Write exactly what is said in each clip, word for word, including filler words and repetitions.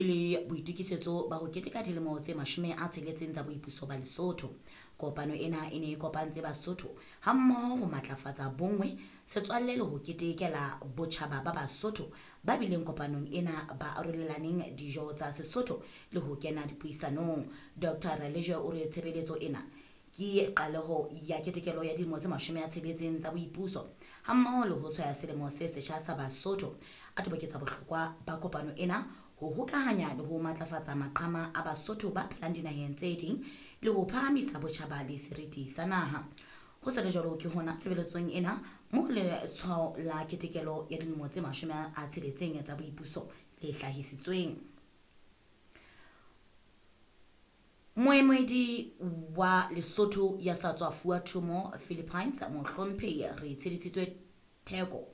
Le boitokisetso ba ho keteka dilemo tse mashome a tsheletseng tsa boipuso ba Lesotho. Kopano ena e ne e kopantse Basotho hammoho ho matlafatsa bonngwe, setswalle le ho ketekela botjhaba ba Basotho ba bileng kopanong ena ba arolelaneng dijo tsa Sesotho le ho kena dipuisanong. Doctor Ralejwe o re tshebeletso ena ke qaleho ya ketekelo ya dilemo tse mashome a tsheletseng tsa boipuso hammoho le ho tshwaya selemo se setjha sa Basotho. A toboketsa bohlokwa ba kopano ena ho hokahanya le ho matlafatsa maqhama a Basotho ba phelang dinaheng tse ding le ho phahamisa botjhaba le seriti sa naha. Ho sa le jwalo ke hona tshebeletsong ena moo letshwao la ketekelo ya dilemo tse mashome a tsheletseng tsa boipuso le hlahisitsweng. Moemedi wa Lesotho ya sa tswa fuwa thomo Philippines, Mohlomphehi Retshedisitswe Theko,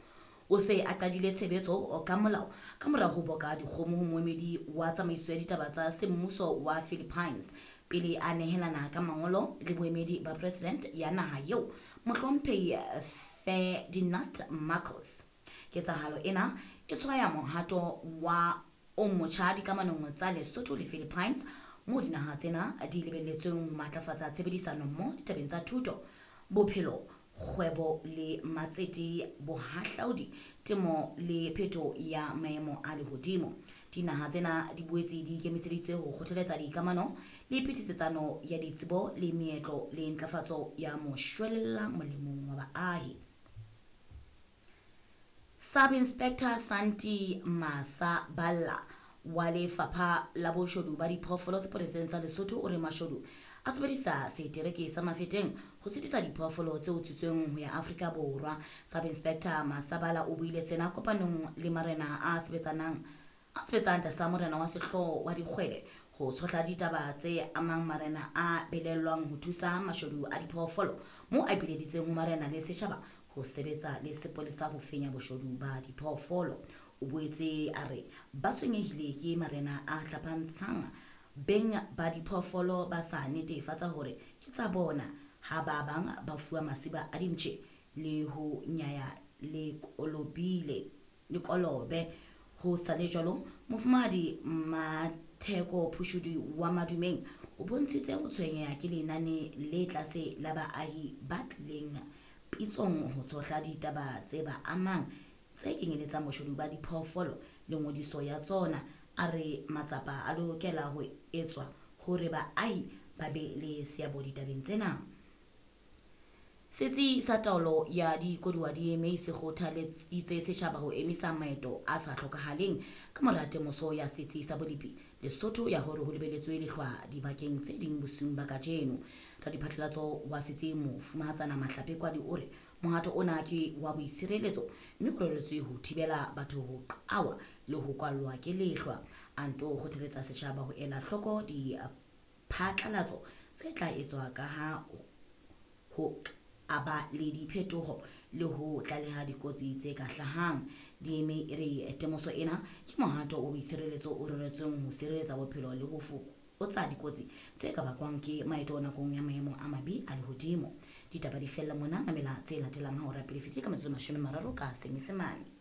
o se a qadile tshebetso ka molao ka mora ho boka dikgomo ho moemedi wa tsamaiso ya ditaba tsa semmuso wa Philippines pele a nehelana ka mangolo le boemedi ba president ya naha eo, Mohlomphehi Ferdinand Marcos. Ketsahalo ena e tshwaya mohato wa o motjha dikamanong tsa Lesotho le Philippines, moo dinaha tsena di lebelletsweng ho matlafatsa tshebedisano mmoho ditabeng tsa thuto, bophelo, kgwebo le matsete, bohahlaudi, temo le phetoho ya maemo a lehodimo. Dinaha tsena di boetse di ikemiseditse ho kgothaletsa dikamano le phetisetsano ya ditsebo le meetlo le ntlafatso ya moshwelella molemong wa baahi. Sub Inspector Santi Masaballa wa Lefapha la Boshodu ba Diphoofolo sepoleseng sa Lesotho o re mashodu a sebedisa setereke sa Mafeteng ho sitisa diphoofolo tse utswitsweng ho ya Afrika Borwa. Sub Inspector Masabala o buile sena kopanong le marena a sebetsanang a sebetsang tlasa morena wa sehlooho wa dikgwele ho tshohla ditaba tse amang marena a belellwang ho thusa mashodu a diphoofolo, moo a ipileditseng ho marena le setjhaba ho sebetsa le sepolesa ho fenya boshodu ba diphoofolo. O boetse a re ba tshwenyehile ke marena a hlapantshang beng ba diphoofolo ba sa netefatsa hore ke tsa bona, ha ba bang ba fuwa masiba a dimpshe le ho nyaya le kolobile le kolobe. Ho sa le jwalo, Mofumahadi Matheko Phushudi wa Madumeng o bontshitse ho tshwenyeha ke lenane le tlase la baahi ba tlileng pitsong ho tshohla ditaba tse ba amang tse kenyeletsang boshodu ba diphoofolo le ngodiso ya tsona. A re matsapa a lokela ho etswa hore baahi ba be le seabo ditabeng tsena. Setsi sa taolo ya dikoduwa D M A se kgothaleditse setjhaba ho emisa maeto a sa hlokahaleng ka mora temoso ya setsi sa bolepi Lesotho ya hore ho lebeletswe lehlwa dibakeng tse ding bosiung ba kajeno. Radiphatlalatso wa setsi Mofumahatsana Mahlape Kwadi o re mohato ona ke wa boitshireletso mme o reretswe ho thibela batho ho qawa le ho kwallwa ke lehlwa. A nto kgothaletsa setjhaba ho ela hloko diphatlalatso tse tla etswa ka ha ho a ba le diphetoho le ho tlaleha dikotsi tse ka hlahang. D M A e re temoso ena ke mohato wa boitshireletso o reretsweng ho sireletsa bophelo le ho fokotsa dikotsi tse ka bakwang ke maeto nakong ya maemo a mabe a lehodimo. Ditaba di fella mona, mamela tse latelang ha hora pele fetile ka metsotso e mashome a mararo ka Senyesemane.